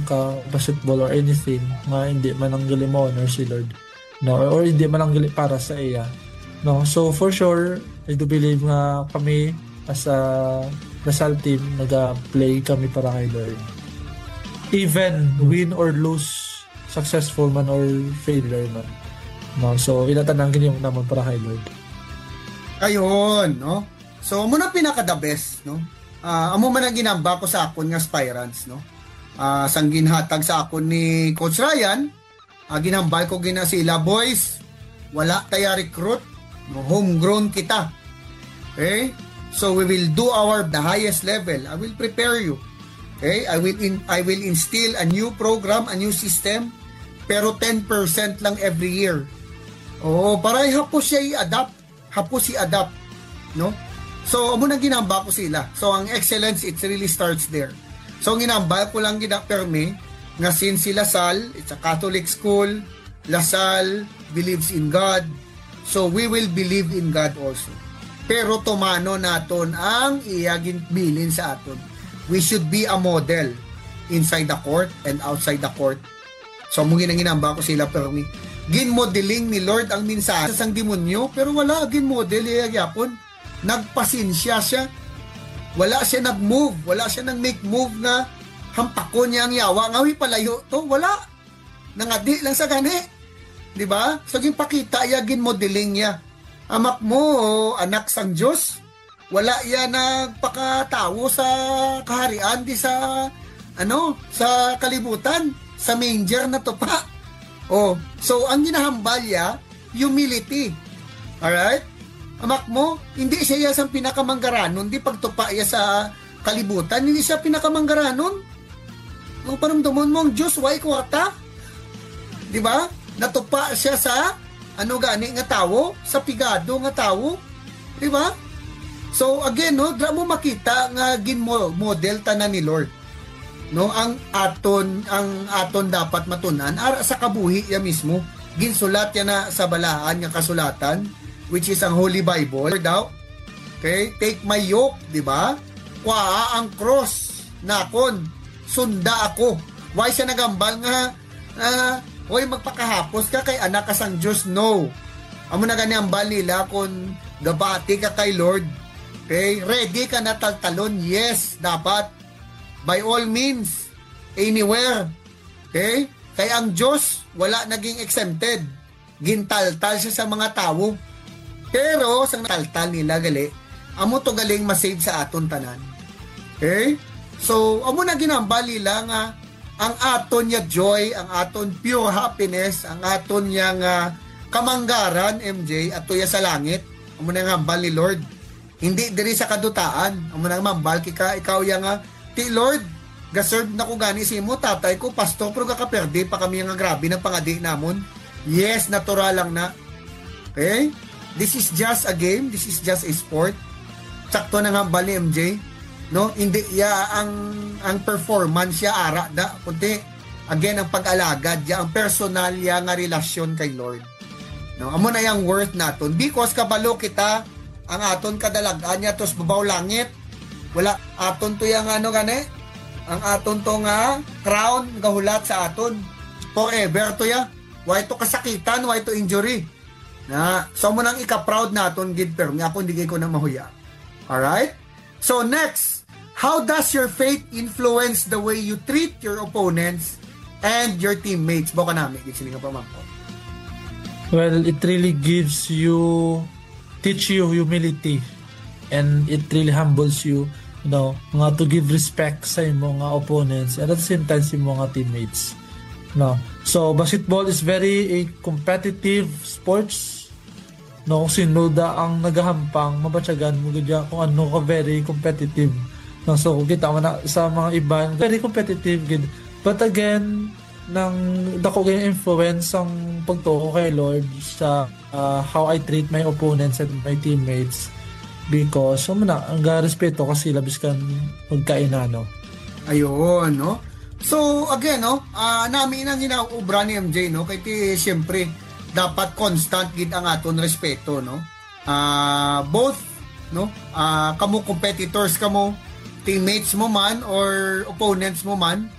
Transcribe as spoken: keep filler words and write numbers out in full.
ka basketball or anything nga hindi man ang gali mo honor si Lord, no? Or, or hindi man ang gali para sa iya, no? So for sure, I do believe nga kami as a Lasal team, naga-play kami para kay Lord. Even win or lose, successful man or failure man. No? So, ila tanan gini yung naman para kay Lord. Ayun, no? So, amo na pinaka the best, no? Ah, amo man ang ginamba ko sa akon nga aspirants, no? Ah, sang ginhatag sa akon ni Coach Ryan, ah, ginambal ko gina sila, boys, wala taya recruit, no? Homegrown kita. Okay? So we will do our the highest level. I will prepare you. Okay? I will in, I will instill a new program, a new system, pero ten percent lang every year. Oo, para hapos siya i-adapt, hapos i-adapt, no? So amo nang ginamba ko sila. So ang excellence, it really starts there. So ang ginamba ko lang gina permi nga since si Lasal, it's a Catholic school, Lasal believes in God, so we will believe in God also. Pero tumano naton ang iya ginbilin sa aton. We should be a model inside the court and outside the court. So, amo gina ginamba ko sila, pero ni ginmodeling ni Lord ang mensahe sang demonyo, pero wala ginmodel iya gyapon. Nagpasinsya siya. Wala siya nag-move, wala siya nag-make move nga hampakon niya ang yawa nga, "Uy, palayo to." Wala. Nangadi lang sa gani. Di ba? So, ginpakita iya, ginmodeling niya. Amak mo, anak sang Diyos. Wala iya nagpakatawo sa kaharian di sa, ano, sa kalibutan, sa manger na to pa. Oh, so ang ginahambal iya, humility. Alright? Amak mo, hindi siya iya sang pinakamanggaranon, di pagtupa iya sa kalibutan, hindi siya pinakamanggaranon. Ang paramdamon mo, ang Diyos, way kwarta. Di ba? Natupa siya sa, ano gani nga tawo? Sa pigado nga tawo. Di ba? So, again, no, dra mo makita nga gin-model tanan ni Lord. No, ang aton, ang aton dapat matun-an, ara sa kabuhi ya mismo. Ginsulat ya na sa balaan nga kasulatan, which is ang Holy Bible. Daw, okay, take my yoke, di ba? Kuhaa ang cross nakon, sunda ako. Why siya nagambal nga, ah, "Hoy, magpakahapos ka kay anak ka sang Diyos"? No. Amo na gani ang bal nila, kung gabati ka kay Lord, okay, ready ka na taltalon. Yes, dapat. By all means, anywhere. Okay? Kay ang Diyos, wala naging exempted. Gintaltal siya sa mga tawo. Pero sa taltal nila gali, amo to galing masave sa aton tanan. Okay? So, amo na ginambal nila nga ang aton nga joy, ang aton pure happiness, ang aton nga, ah, kamanggaran, M J, ato ya sa langit. Amo na nga hambal ni Lord. Hindi diri sa kadutaan. Amo na nga hambal kika, ikaw ya nga, "Ti Lord, gaserve na ko gani sa imo, tatay ko pastor, pero gakaperde pa kami nga grabe ng pangadi namon." Yes, natural lang na. Okay? This is just a game, this is just a sport. Sakto na nga hambal ni M J, no? Hindi ya ang, ang performance ya ara da, kundi again ang pag-alagad ya, ang personal ya nga relasyon kay Lord. No, amo na yang worth naton. Because kabalo kita ang aton kadalag-an ya tos babaw langit. Wala aton to yang ano gani, ang aton to nga crown gahulat sa aton. Forever to ya. Why to kasakitan, why to injury? Na, so mo nang ika-proud naton gid, pero ako hindi ko na mahuya. Alright? So next, how does your faith influence the way you treat your opponents and your teammates? Baka nami, gid sini nga pamangkot. Well, it really gives you, teach you humility, and it really humbles you, you know, nga to give respect sa imo nga opponents and at the same time sa imo nga teammates. No. So basketball is very a competitive sports. No, kung sino da ang nagahampang, mabatyagan mo gid ya kung ano ka very competitive. No, so kita mo na sa mga iban, very competitive gid. But again, nang dako gid influence ang pagtuo kay Lord sa, ah, how I treat my opponents and my teammates, because so na ang respeto ka sila biskan magkainano. Ayun, no? So again, no, ah, nami nang ginaubra ni M J, no, kay ti siyempre dapat constant gid ang aton respeto, no? Ah, both, no? Ah, kamo competitors kamo, teammates mo man or opponents mo man,